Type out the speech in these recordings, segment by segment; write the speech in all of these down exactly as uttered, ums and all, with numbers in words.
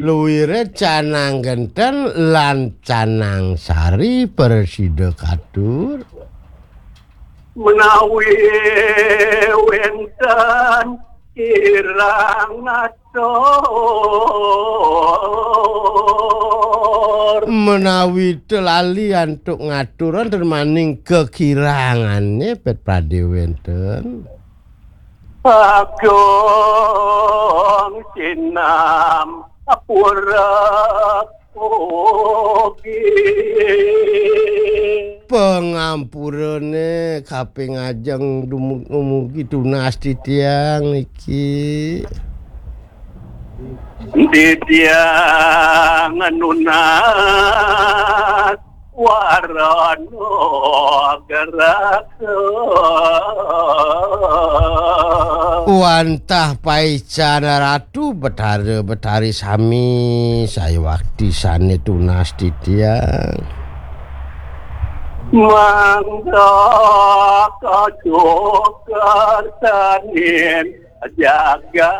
Luire canang genten lan canang sari prasida katur. Menawi wenten kirang ngatur. Menawi te lali antuk ngatur wenten maning kekirangane pet pradé wenten. Agung sinam pura ugi. Pangampurane kaping ajeng dumugi tunas titiang niki. Titiang nunas warana geraka. Wantah paican Ratu Betara Betari sami sayuwakti sane tunas titiang. Mangga kajogar sanin jagat.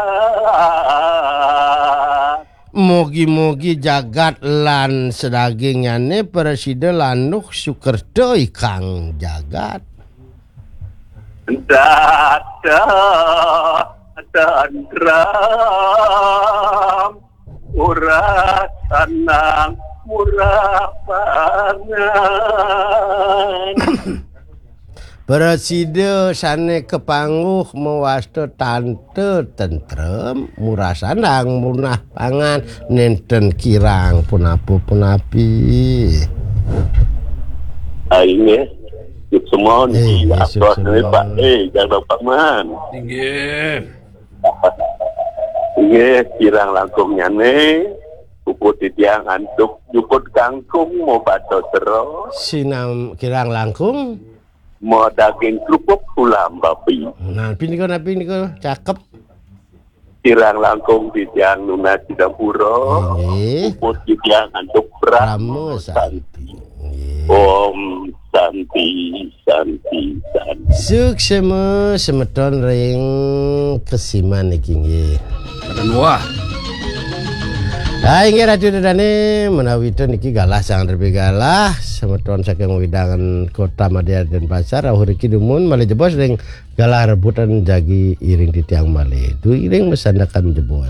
Mugi-mugi jagat lan sadagingnyane prasida landuh sukerta ikang jagat. Data tentram murah tenang murah pangan. Prasida sane kapanguh mawasta tanta tentrem, murah sandang, murah pangan, nenten kirang punapa-punapi. Ah, inggih. Suksma niki. Eh, inggih, atos niki, Pak. Suksma. Eh, Jang Paman. Inggih. Inggih, kirang langkungnyane, puput titiang antuk jukut kangkung mobata sera. Sinam kirang langkung. Modaging kerupuk tulang babi. Nah, napi nika, napi nika? Cakep. Kirang langkung titiang nunas sinampura. Inggih. Puput titiang antuk Parama Parama Santi. Santi. Inggih. Om Santi, Santi, Santi. Suksma semeton ring kesiman niki nggih. Mboten wah. Ah, inggih Ratu Dedane, menawi ten niki galah sang derbe galah, semeton saking wewidangan Kota Madya Denpasar, rauh riki dumun malih jebos ring galah rebutan jagi iring titiang malih. Duh iring masandekan jebos.